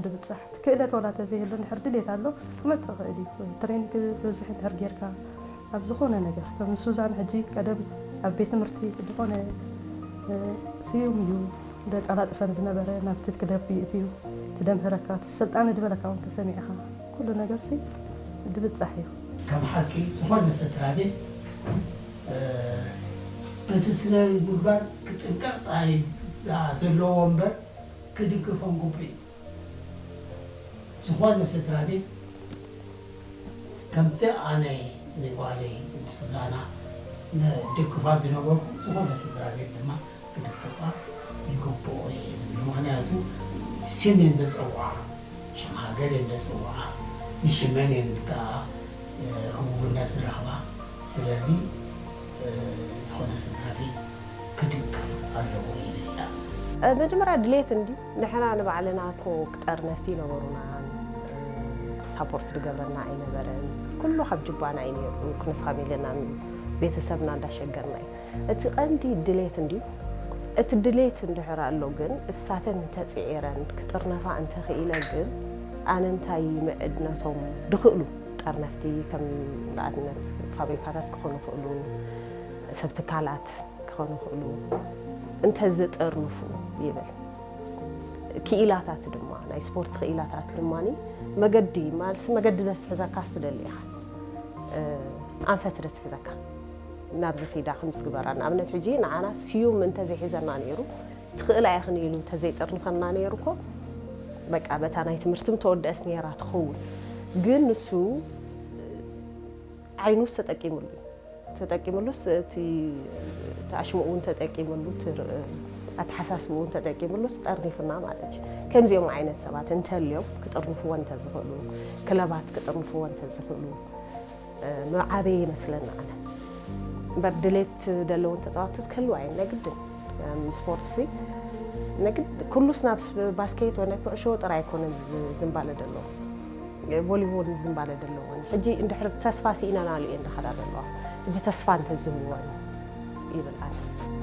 ድብጻሕ ክእለት ዋላ ተዘይህሉ እንድሕር ድሌት ኣሎ ክመጽእ ይኽእል እዩ። ትሬኒንግ ብብዝሒ እንድሕር ጌርካ ኣብ ዝኾነ ነገር ከም ሱዛን ሕጂ ቀደም ኣብ ቤት ትምህርቲ ዝኾነ ስዩም እዩ ደቃላጥፈን ዝነበረ ናብቲ ክለብ ይእትዩ ትደምህረካ እቲ ሰልጣኒ ዝበለካ እውን ተሰሚዕኻ ኩሉ ነገር ሲ ድብጻሕ እዩ። ከም ሓቂ ዝኾነ ስድራ ቤት በቲ ስነ ምግባር ክጥንቀቕ ጥራይ ዘለዎ እምበር ክድግፎም ግቡእ እዩ። ዝኾነ ስድራ ቤት ከምቲ ኣነ ንጓለይ ንሱዛና ንድግፋ ዝነበርኩ ዝኾነ ስድራ ቤት ድማ ክድግፋ ይግብኦ እየ ዝብል። ምኽንያቱ ሽም እየን ዘፀውዓ፣ ሽም ሃገር እየን ዘፀውዓ፣ ንሽመን እየን ከዓ ህቡብነት ዝረኽባ። ስለዚ ዝኾነ ስድራ ቤት ክድግፍ ኣለዎ ይብል። መጀመርያ ድሌት እንዲ ንሕና ንባዕልና እኮ ክጠርነፍቲ ይነበሩና ሳፖርት ዝገብረና ኣይነበረን። ኩሉ ካብ ጅባና እዩ ነይሩ፣ ክንፋሚልና ቤተሰብና እንዳሸገርና እዩ። እቲ ቀንዲ ድሌት እንድዩ። እቲ ድሌት እንድሕር ኣሎ ግን እሳተን እንተፅዒረን ክጥርነፋ እንተኽኢለ ግን ኣነ እንታይ ምዕድ ነቶም ድኽእሉ ጠርነፍቲ ከም ንኣብነት ፋብሪካታት ክኾኑ ይኽእሉ፣ ሰብ ትካላት ክኾኑ ይኽእሉ እንተዝጥርንፉ ይብል። ክኢላታት ድማ ናይ ስፖርት ክኢላታት ድማ መገዲ ማለትሲ መገዲ ዘትሕዘካስ ትደሊ ኢኻ። ኣንፈት ዶ ትሕዘካ ናብዚ ኺዳ ከምዚ ግበራ ንኣብነት ሕጂ ንዓና ስዩም እንተዘይሒዘና ነይሩ ትኽእላ ኢኽን ኢሉ እንተዘይጠርንፈና ነይሩ እኮ በቃ በታ ናይ ትምህርትም ተወደአት ነይራ ትኸውን ግን ንሱ ዓይኑስ ተጠቂምሉ እዩ ተጠቂምሉስ እቲ ኣሽምኡ እውን ተጠቂምሉ ኣተሓሳስብኡ እውን ተጠቂምሉስ ጠርኒፍና ማለት እዩ ከምዚኦም ዓይነት ሰባት እንተልዮም ክጥርንፍዎ እንተዝኽእሉ ክለባት ክጥርንፍዎ እንተዝኽእሉ ምዓበየ ይመስለኒ ኣነ እምበር ድሌት ዘለዎም ተፃወትቲ ክህልዋ እየን ናይ ግድን ስፖርት ሲ ኩሉስ ናብ ባስኬት ወይ ናይ ኩዕሾ ጥራይ ኣይኮነን ዝንባለ ዘለዎ ቮሊቦል ዝንባለ ዘለዎን ሕጂ እንድሕር ተስፋ ስኢነናሉ እየን ዝኸዳ ዘለዋ ሕጂ ተስፋ እንተዝህልወን ይብል ኣነ